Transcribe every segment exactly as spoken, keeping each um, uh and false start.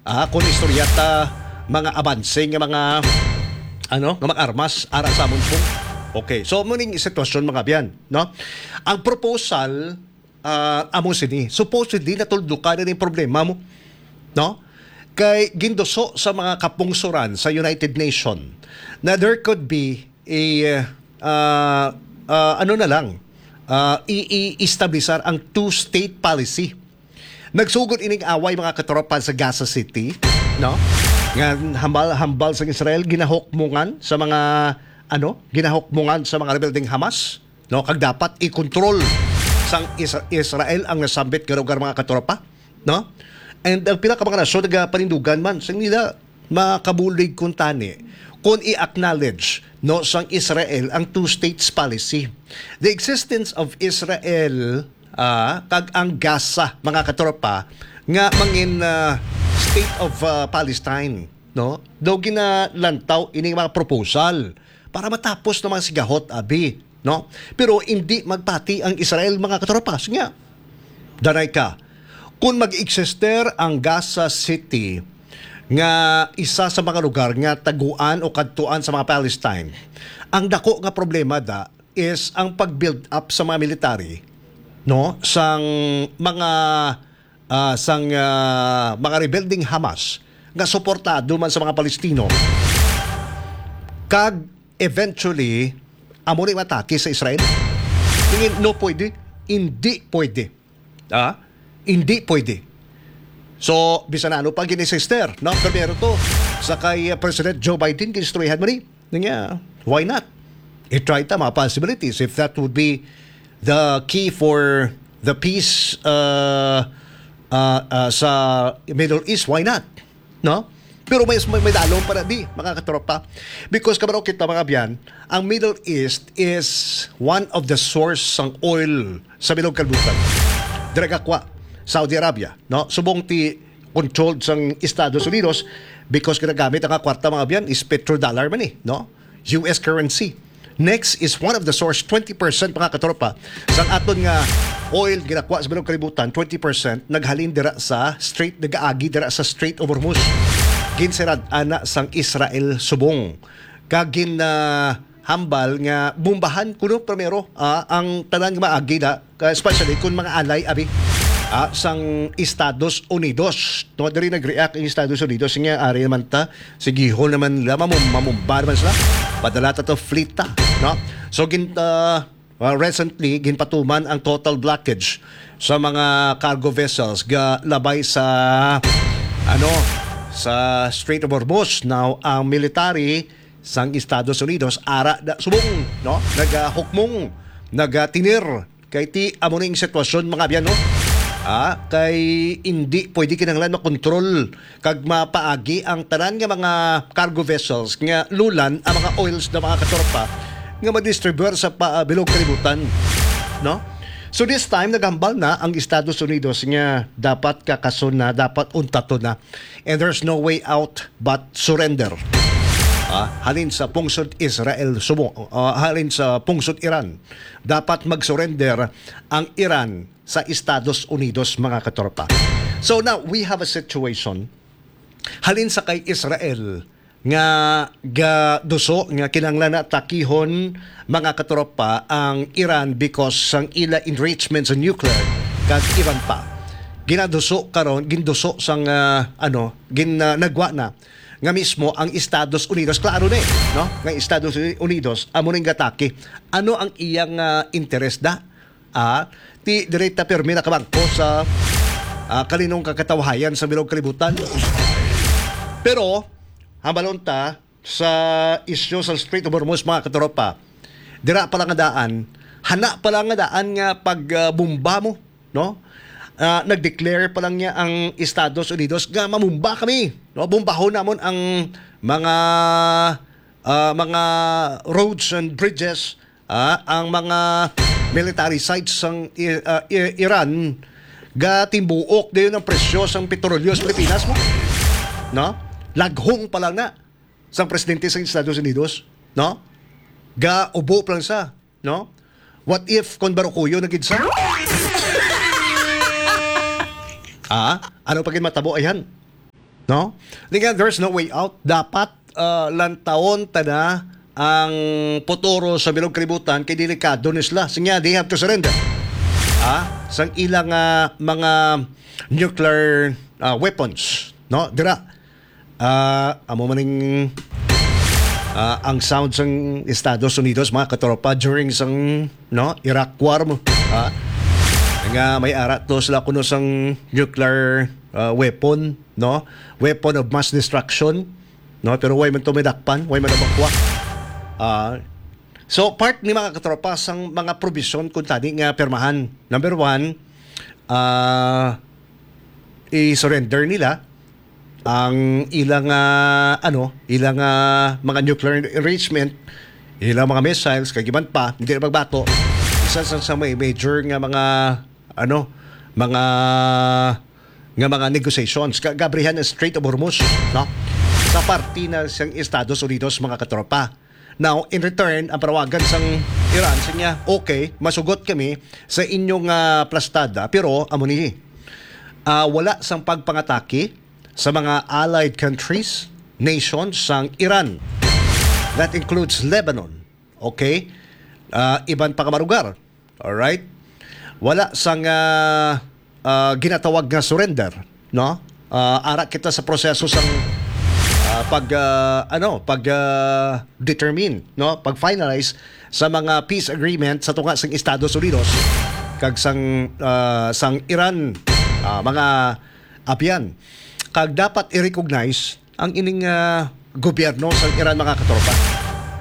ah, kung istorya ta, mga abanse nga mga, ano, nga mga armas ara sa amon subong. Okay, so amo ning sitwasyon, mga abyan, no? Ang proposal, ah, amo sini. Supposedly natuldukan na ning problema mo, no? Kay ginduso sa mga kapungsoran sa United Nation na there could be a, ah, ah, ano na lang, ah, i-, i-establisar ang two-state policy. Nagsugod ining away, mga katropa, sa Gaza City, no? Nga hambal-hambal sa Israel, ginahukmungan sa mga, ano, ginahukmungan sa mga rebelde nga Hamas, no? Kag dapat i-control sang Isra-, Israel ang nasambit nga lugar, mga katropa, no? And ang pila ka mga nasyon nagapanindugan man sa nila makabulig kuntani kung i-acknowledge, no, sang Israel ang two states policy. The existence of Israel, ah, kag ang Gaza, mga katropa, nga mangin, ah, state of, ah, Palestine, no? Daw ginalantaw ini mga proposal para matapos na mga sigahot, abi, no? Pero hindi magpati ang Israel, mga katropa. Sige nga, danay ka. Kung mag-eksister ang Gaza City nga isa sa mga lugar nga taguan o kadtuan sa mga Palestine, ang dako nga problema da is ang pag-build up sa mga military, no, sang mga, ah, sang, ah, mga rebelding Hamas nga suportado man sa mga Palestino, kag eventually amo ni matake sa Israel. Tingin, no, pwede, hindi pwede. Ah, hindi pwede. So, bisan ano pa gini, sister, no? Primero to, sa kay, uh, President Joe Biden, ginistoryahan mo ni. Nga, why not? I-try ta mga possibilities. If that would be the key for the peace, uh, uh, uh, sa Middle East, why not? No? Pero may, may, may dalom pa na di, mga katropa. Because kabalo kita, mga abyan, ang Middle East is one of the source sang oil sa bilog kalibutan. Dira gakwa, Saudi Arabia, no? Subong ti controlled sang Estados Unidos because ginagamit ang kwarta, mga abyan, is petrodollar man eh, no? U S currency. Next is one of the source, twenty percent, mga katropa, sang aton nga oil ginakwa sa bilog kalibutan, twenty percent naghalin dira sa Strait, nagaagi dira sa Strait of Hormuz. Ginsirad ana sang Israel subong. Kag gin, ah, hambal nga bombahan kuno primero, ah, ang tanan nga maagi na, especially kung mga alay, abi, ah, sang Estados Unidos. No, diri nag-react ang Estados Unidos nga ari naman ta, sigihon naman nila, mamum-, mamumba naman sila. Padala ta to fleet ta, no? So, gin-, ah, ah, recently, ginpatuman ang total blockage sa mga cargo vessels ga labay sa, ano, sa Strait of Hormuz. Now, ang military sang Estados Unidos ara da subong, no, nagahukmong, nagatinir kay ti amo ning sitwasyon, mga abyan, no? Ah, kay hindi pwede kinahanglan makontrol kag mapaagi ang tanan nga mga cargo vessels nga lulan ang mga oils na, mga katropa, nga madistribuer sa pa, bilog kalibutan, no? So this time, naghambal na ang Estados Unidos nga dapat kakason na, dapat untaton na. And there's no way out but surrender. Ah, halin sa pungsod Israel, sumo, ah, halin sa pungsod Iran, dapat mag-surrender ang Iran sa Estados Unidos, mga katropa. So now, we have a situation, halin sa kay Israel, nga gaduso nga kinahanglan na takihon, mga katropa, ang Iran because sang ila enrichment sa nuclear kag iban pa. Ginaduso karon, ginduso sang, ah, ano, gin-, ah, nagwa na nga mismo ang Estados Unidos. Klaro ni, no? Nga Estados Unidos amo ning gatake. Ano ang iyang, ah, interes da? Ah, ti diri ta pirmi nakabangko sa, ah, kalinong kakatawhayan sa bilog kalibutan. Pero, hambalon ta sa isyu sa Strait of Hormuz, mga katropa. Dira pa lang nga daan, hana pa lang nga daan nga pag, ah, bomba mo, no? Ah, nag-declare pa lang niya ang Estados Unidos nga mamumba kami, no? Bombahon namon ang mga, ah, mga roads and bridges, ah, ang mga military sites sang I-, ah, I-, Iran, gatimbuok dayon ang presyo sang petrolyo sa Pilipinas mo, no? Laghong pa lang na sang presidente sa Estados Unidos, no? Gaubo pa lang sa, no? What if kon barukuyo na gid sa? Ah, ano pa gid matabo ayan? no? Nga there's no way out. Dapat, ah, lantawon ta na ang futuro sa bilog kalibutan kay delikado ni sila. Sinya, they have to surrender. Ah, sang ilang, ah, mga nuclear, ah, weapons, no? Dira. Ah, amo man ning, ah, ang sound sang Estados Unidos, mga katropa, during sang, no, Iraq War mo. Ah, nga may ara to sila kuno sang nuclear, ah, weapon, no? Weapon of mass destruction, no? Pero way man to may dakpan, way man to makuha. Ah, so, part ni, mga katropa, sang mga provision kung tani nga pirmahan. Number one, ah, i-surrender nila ang ilang, ah, ano, ilang, ah, mga nuclear enrichment, ilang mga missiles, kag iban pa, hindi na magbato. Isa sa, sa may major nga mga, ano, mga, nga mga negotiations. Ka-, gabrihan ang Strait of Hormuz, no? Sa parte na sang Estados Unidos, mga katropa. Now, in return, ang panawagan sang Iran, sa niya, "Okay, masugot kami sa inyong, ah, plastada, pero amo ni, ah, wala sang pagpangatake sa mga allied countries, nations sang Iran. That includes Lebanon." Okay? Ah, iban pa nga mga lugar. Alright? Wala sang, ah, ah, ginatawag nga surrender, no? Ah, ara kita sa proseso sang, ah, pag, ah, ano, pag, ah, determine, no? Pag finalize sa mga peace agreement sa tunga sang Estados Unidos kag sang, ah, sang Iran, ah, mga abyan. Kag dapat i-recognize ang ining, ah, gobyerno sa Iran, mga katropa,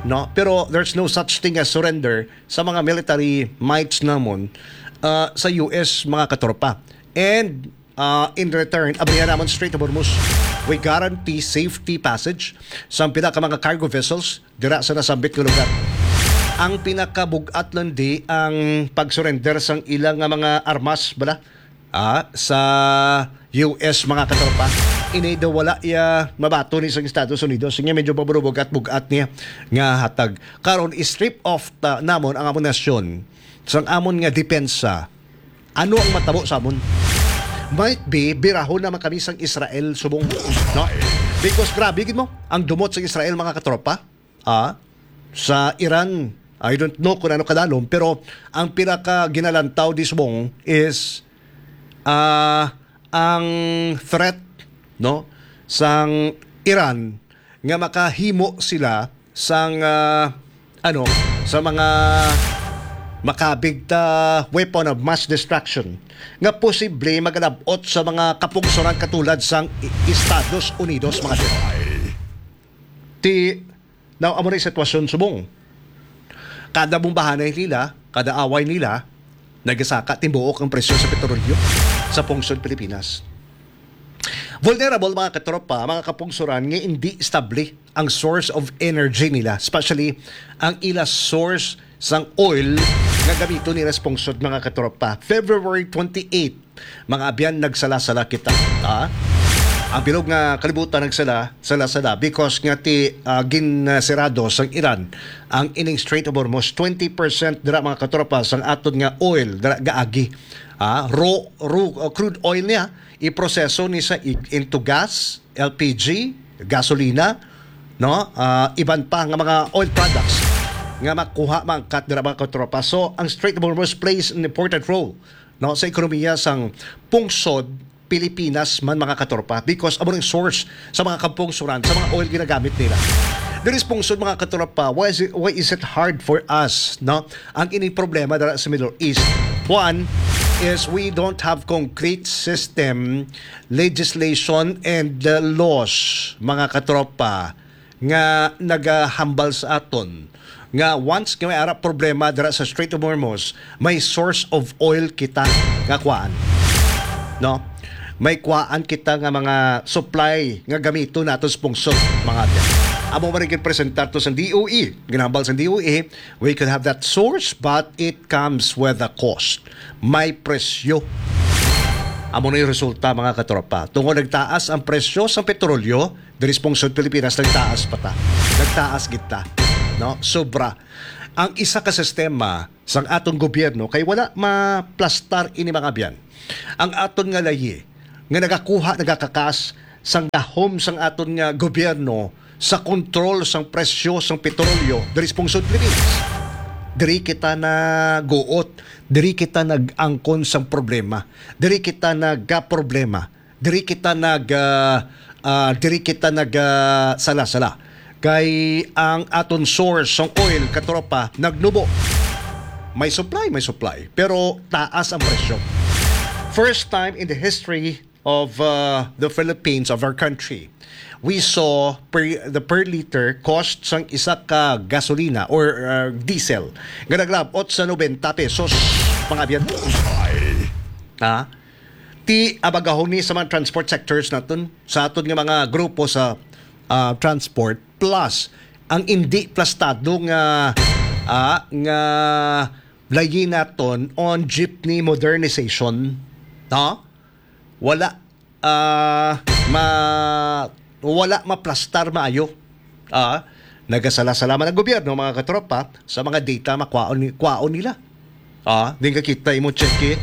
no? Pero there's no such thing as surrender sa mga military mights namon, ah, sa U S, mga katropa. And, ah, in return, abrihan namon Strait of Hormuz. We guarantee safety passage sa pila ka mga cargo vessels dira sa nasambit nga lugar. Ang pinakabug-at lang di ang pag-surrender sang ilang nga mga armas, bala, ah, sa U S, mga katropa. Ini daw wala iya mabato ni sang Estados Unidos. Nga medyo paburubog at bugat niya nga hatag. Karon, i-strip off ta, namon ang amon nasyon sang amon nga depensa. Ano ang matabo sa amon? Might be, birahon naman kami sang Israel subong. No? Because grabe gid mo, ang dumot sa Israel, mga katropa. Ah, sa Iran, I don't know kung ano kadalom, pero ang pinaka ginalantaw di subong is, ah, ang threat, no, sang Iran nga makahimo sila sang, ah, ano, sa mga makabig ta weapon of mass destruction nga posible magalab-ot sa mga kapungsoran katulad sang I-, Estados Unidos, mga di. Ti, now, amo na yung sitwasyon subong. Kada bumbahanay nila, kada away nila, nagasaka timbuok ang presyo sa petrolyo sa pungsod Pilipinas. Vulnerable, mga katropa, mga kapungsoran, nga hindi estable ang source of energy nila, especially ang ila source sang oil nga gamiton nila sa pungsod, mga katropa. February twenty-eight, mga abyan, nagsala-sala kita, ha? Ang bilog nga kalibutan nagsala, sala-sala because nga ti, ah, ginsirado sang Iran ang ining Strait of Hormuz. Twenty percent dira, mga katropa, sang aton nga oil dira gaagi. Ah, raw, raw, uh, crude oil niya, iproseso ni sa ig-, into gas, L P G, gasolina, no? Ah, iban pa nga mga oil products nga makuha, maangkat dira, mga katropa. So, ang Strait of Hormuz plays an important role, no, sa ekonomiya sang pungsod Pilipinas man, mga katropa, because amo ang source sa mga kapungsuran, sa mga oil ginagamit nila. Diri sa pungsod, mga katropa, why is it, why is it hard for us, no? Ang ining problema dira sa Middle East, one is we don't have concrete system, legislation, and, uh, laws, mga katropa, nga nagahambal sa aton nga once nga may ara problema dira sa Strait of Hormuz, may source of oil kita nga kuhaan. No? May kuhaan kita nga mga supply nga gamiton nato sa pungsod, mga abyan. Amo man ang ginpresentar to sa D O E. Ginhambal sa D O E, we could have that source, but it comes with a cost. May presyo. Amo na yung resulta, mga katropa. Tungod nagtaas ang presyo sa petrolyo, diri sa pungsod Pilipinas, nagtaas pa ta. Nagtaas gid ta. No? Sobra. Ang isa ka sistema sang atong gobyerno kay wala maplastar ini, mga abyan. Ang aton nga layi nga nagakuha, nagakakas sang gahom sang aton nga gobyerno sa kontrol sang presyo sang petrolyo diri sa pungsod Pilipinas. Diri kita naguot, diri kita nag-angkon sang problema, diri kita nagka-problema, diri kita nag, ah, ah, diri kita nag, ah, sala-sala. Kay ang aton source sang oil, katropa, nagnubo. May supply, may supply, pero taas ang presyo. First time in the history of, uh, the Philippines, of our country, we saw per, the per liter cost sang isa ka gasolina or, uh, diesel nga naglabot sa nobenta pesos, mga abyan. Bullseye. Ha? Ti abagahon ni sa mga transport sectors naton, sa aton nga mga grupo sa, uh, transport, plus ang indi plastado nga, ah, nga layi naton on jeepney modernization, no? Wala, ah, ma-, wala maplastar maayo. Ah, nagasala-sala man ang gobyerno, mga katropa, sa mga data makwaon ni-, kwaon nila. Ah, din ka kita imo check it.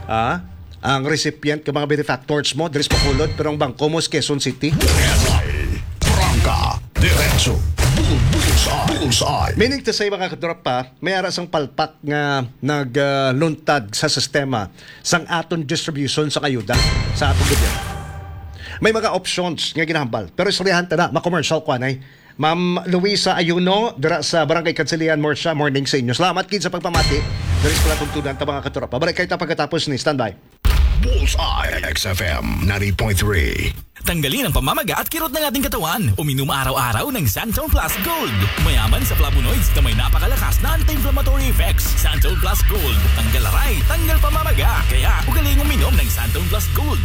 Ah, ang recipient ka mga benefactors mo, diri sa Bacolod, pero ang bangko mo sa Quezon City. Bullseye. Prangka. Diretso. Bull-, bullseye. Bullseye. Meaning to say, mga katropa, may ara sang palpak nga nagluntad sa sistema sang aton distribution sang ayuda sa aton gobyerno. May mga options nga ginahambal, pero istoryahan ta na, ma-commercial ko anay. Ma'am Luisa Ayuno, dira sa Barangay Kansilian, Murcia, morning sa inyo. Salamat gid sa pagpamati. Diri sa palatuntunan ta, mga katropa. Balik kayo ta pagkatapos ni. Standby. Bullseye, X F M ninety point three. Tanggalin ang pamamaga at kirot ng ating katawan. Uminom araw-araw ng Santon Plus Gold. Mayaman sa flavonoids na may napakalakas na anti-inflammatory effects. Santon Plus Gold. Tanggal aray, tanggal pamamaga. Kaya, ugaling uminom ng Santon Plus Gold.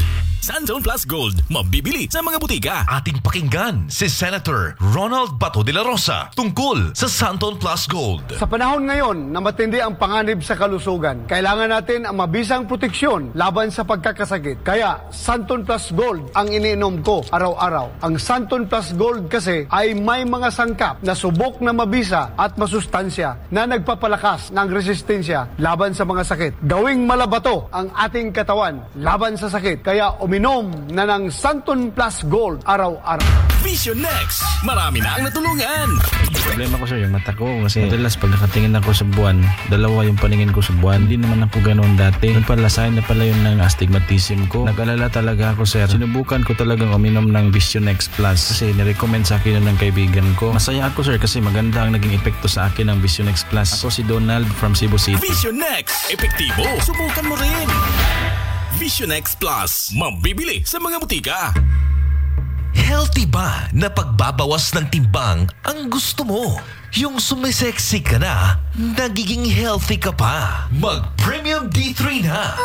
Santon Plus Gold, mabibili sa mga butika. Ating pakinggan si Senator Ronald Bato de la Rosa tungkol sa Santon Plus Gold. Sa panahon ngayon na matindi ang panganib sa kalusugan, kailangan natin ang mabisang proteksyon laban sa pagkakasakit. Kaya, Santon Plus Gold ang iniinom ko araw-araw. Ang Santon Plus Gold kasi ay may mga sangkap na subok na mabisa at masustansya na nagpapalakas ng resistensya laban sa mga sakit. Gawing malabato ang ating katawan laban sa sakit. Kaya uminom na ng Santon Plus Gold araw-araw. Vision X, marami na ang natulungan. Problema ko, sir, yung mata ko. Kasi madalas pag nakatingin ako sa buwan, dalawa yung paningin ko sa buwan. Hindi naman ako ganoon dati. Yung pala, sign na pala yun ng astigmatism ko. Nag-alala talaga ako, sir. Sinubukan ko talagang uminom ng Vision X Plus kasi nirecommend sa akin yun ng kaibigan ko. Masaya ako, sir, kasi maganda ang naging epekto sa akin ng Vision X Plus. Ako si Donald from Cebu City. Vision X, epektibo. Subukan mo rin. Vision X Plus, mabibili sa mga butika. Healthy ba na pagbabawas ng timbang ang gusto mo? Yung sumisexy ka na, nagiging healthy ka pa. Mag Premium D three na.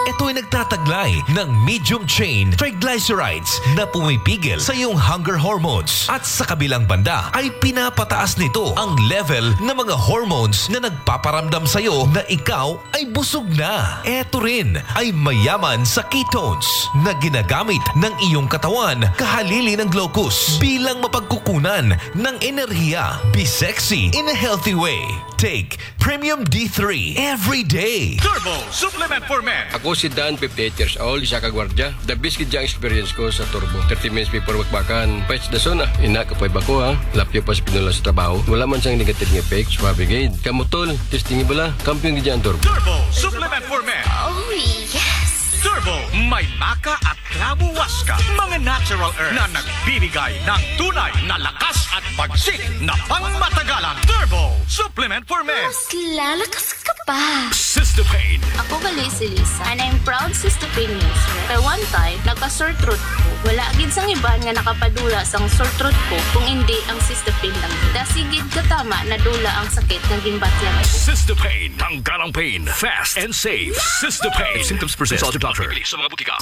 Ito ay nagtataglay ng medium chain triglycerides na pumipigil sa iyong hunger hormones at sa kabilang banda ay pinapataas nito ang level ng mga hormones na nagpaparamdam sa iyo na ikaw ay busog na. Ito rin ay mayaman sa ketones na ginagamit ng iyong katawan kahalili ng glucose bilang mapagkukunan ng enerhiya. Be sexy in a healthy way. Take Premium D three every day. Turbo Supplement for Men. Ako si Dan, fifty-eight years old, isa ka gwardiya. The best gid ang experience ko sa Turbo. Thirty minutes before bakbakan, pets the zone ah. Ina, kapoy ba ko ha? Lapyo pa sa pinula sa trabaho. Wala man sang negative nga effects, mabigid. Kamo tol, testing bala. Kampiyon gid ang Turbo. Turbo Supplement for Men. Oh, yes. Turbo, may maka at Labuwas ka, mga natural herbs na nagbibigay ng tunay na lakas at bagsik na pangmatagalan. Turbo Supplement for Men. Mas lalakas ka pa. Sister Pain. Ako gali si Lisa, and I'm proud Sister Pain user. Kay one time, nagka-sore throat ko. Wala gid sang iban nga nakapadula sang sore throat ko kung indi ang Sister Pain lang. Dasi gid katama nadula ang sakit nga ginbatyan ko. Sister Pain. Tanggal ang pain. Fast and safe. Sister Pain. If symptoms persist, consult your doctor. Bibili sa mga butika.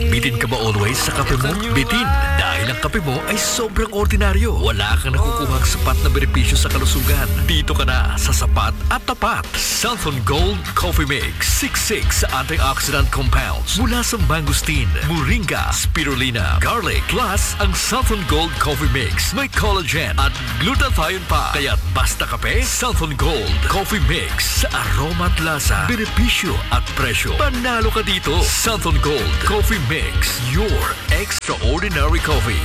Bitin ka ba always sa kape mo? Bitin, dahil Ang kape mo ay sobrang ordinaryo. Wala kang nakukuhang sapat na benepisyo sa kalusugan. Dito ka na sa sapat at tapat. Santhon Gold Coffee Mix. Siksik sa antioxidant compounds mula sa mangosteen, moringa, spirulina, garlic. Plus, ang Santhon Gold Coffee Mix may collagen at glutathione pa. Kaya basta kape, Santhon Gold Coffee Mix. Sa aroma at lasa, benepisyo at presyo, panalo ka dito. Santhon Gold Coffee Mix, your extraordinary coffee.